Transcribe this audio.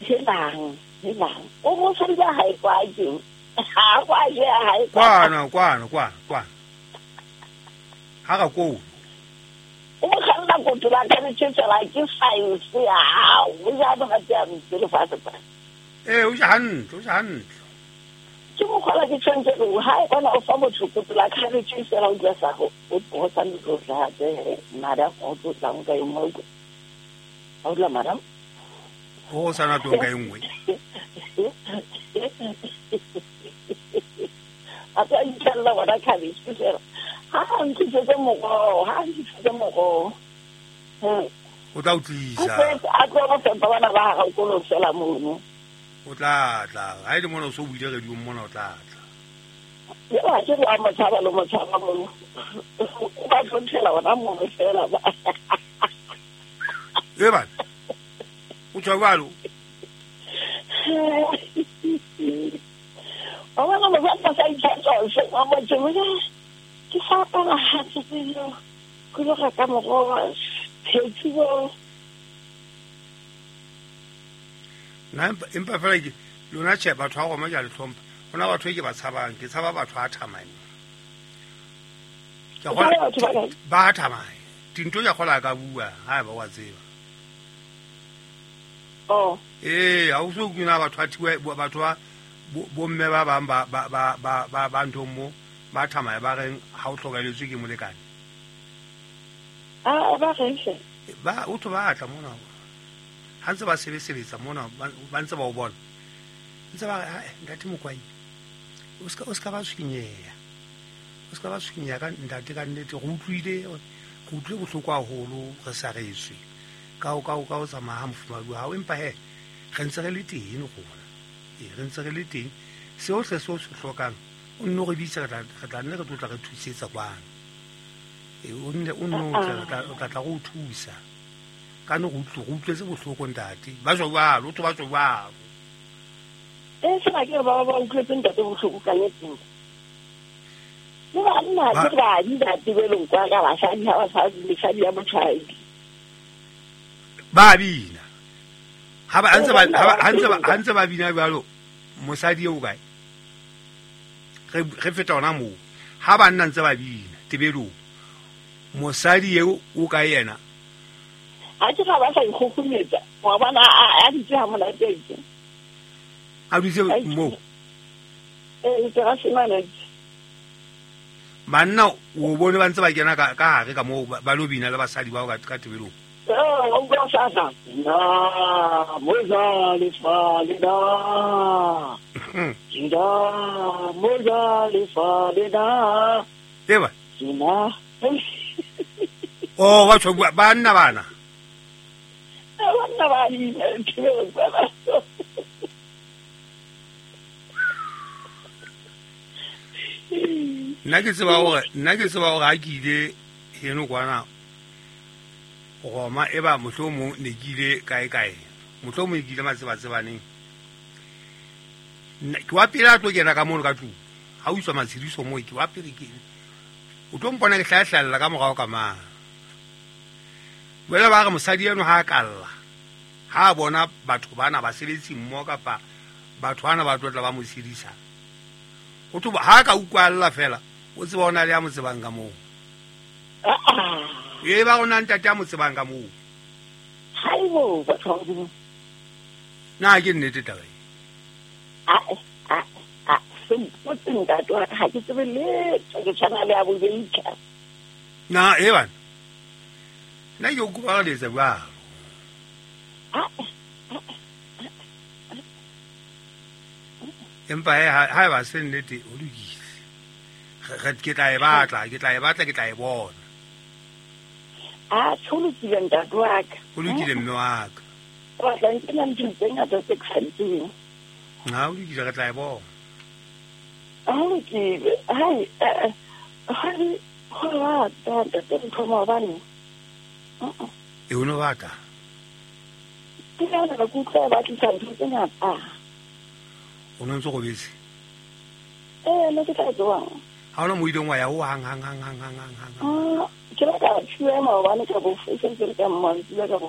Helang, helang. O mosadi ba hae kwa ke. Ha kwa je hae. Kwana, kwana, kwana, kwana. Ha ka ko. O mo kganna kotola ka letšetsela ke science ya hao. O ja ba ga tse le fa tsa. Eh, o ja hantle, o ja hantle. Ke mo khola ke tshwantse go ha e bona o fa motho kotola ka letšetsela o tla sa go o sa ntlo tla tse madam o tlo tla nka e nngwe. Ha o tla madam? O sa na tonka e nngwe. A tla itshella bona cabbage fela. Ha ntse moroho, ha ntse moroho. O tla o tlisa. A tlo go fepa bana ba ga o fela mono. O tla tla. Ha ile mona o so buile radio mona o tla tla. Ya ke re a motshaba lo motshaba mono. O ba tlontshela ona mono fela ba. E ba. O tswa jwalo. O bona mo ba sa ithatsa se mo motho. Ke sa apara hantle pele ke lo reka moroho phetsi bo. Nna empa fela ke lona tjhe batho ba roma ke a le hlompha. Hona batho e ke ba tshabang, ke tshaba batho a thamane. Ke kgola ba thamane. Dinto ya kgola ka bua ha ba wa tseba. Oh. Eh, ha o so kuna batho a thiwa batho ba bomme ba bang ba ba ba ba ba nthong mo. Ba thamaya ba reng ha o hlokaeletswe ke molekane. Ah, ba reng hle? Ba o tlo batla mona. Ha ntse ba sebetsa mona, ba ntse ba o bona. Ntse ba re, ntate Mokwai. O ska ba tshwenyeha. O ska ba tshwenyeha ka ntate ka nnete re utlwile bohloko haholo re sa reswe. Ka o tsamaya ha mofumahadi wa hao empa he re ntse re le teng rona. E re ntse re le teng. Seo se se hlokang o nno re bitse re tla nne re tlotla re thusetsa kwano. E o nne o nno o tla tla go thusa. Ka no go utlwetse bohloko ntate. Ba jwa jwalo, o tlo ba jwa jwalo. E sena ke ba ba utlwetse ntate bohloko ka nnete. Le banna ke ba di ntate belong kwa ka basadi ha ba sa mesadi ya motshwaedi. Ba bina. Ha ba ntse ba bina jwalo mosadi eo kae? Re feta ona moo. Ha banna ntse ba bina tebelong. Mosadi eo o ka yena. Ha ke ga ba sa ikgogometsa. Wa bona a ditse ha monate ke. A ditse mo. Eh, ke ga sena. Banna o bone ba ntse ba kena ka hare ka moo ba lo bina le basadi bao ka tebelong. Eh, o go sa sa. Na, moza le fa le da. Nda, moza le fa le da. Eba. Sina. Oh, ba tsho banna bana. Banna ba di tebelong ba. Nna ke tseba hore ha ke ile heno kwana Roma e ba mohlomong ne ke ile kae kae mohlomong ke ile matsebatsebaneng ke wa pele a tlo kena ka mono ka tlung ha o iswa matshediso moo ke wa pele ke o tlo mpona ke hlahlalla ka morao ka mang. Jwale ba re mosadi eno ha a kalla ha a bona batho bana basebetsi mmoho kapa batho bana ba tlo tla ba mo tshedisa o tlo ha ka utlwalla fela o tseba ona le ya mo tsebang ka moo. E ba rona ntate ya mo tsebang ka moo. Haibo batho ba Modimo. Na ke nnete taba e? A se mpotse ntate wa ka ha ke tsebe letho ke tshwana le a bobeika. Na e bana. Nna ke o kopa re letsa jwalo. Empa ha eba se nnete o lokile. Ke tla e batla, ke tla e bona. A ho lokile ntate wa ka. Ho lokile mme wa ka. Ba tla nkena ntho tse ngata tse ke sa di tsebeng. Ha o lokile re tla e bona. Ha lokile. Hai, ha ho rata ntate ntho maobane. E o no batla? Ke na le kutlwa ba tlisa ntho tse ngata. O no ntse go bese? Eh, nna ke tla tswang. Ha ona mo ileng wa ya ho hang hang hang hang hang hang. Ah, ke la ka tshuwa maobane ka bo sentse re ka mmantsila ka bo.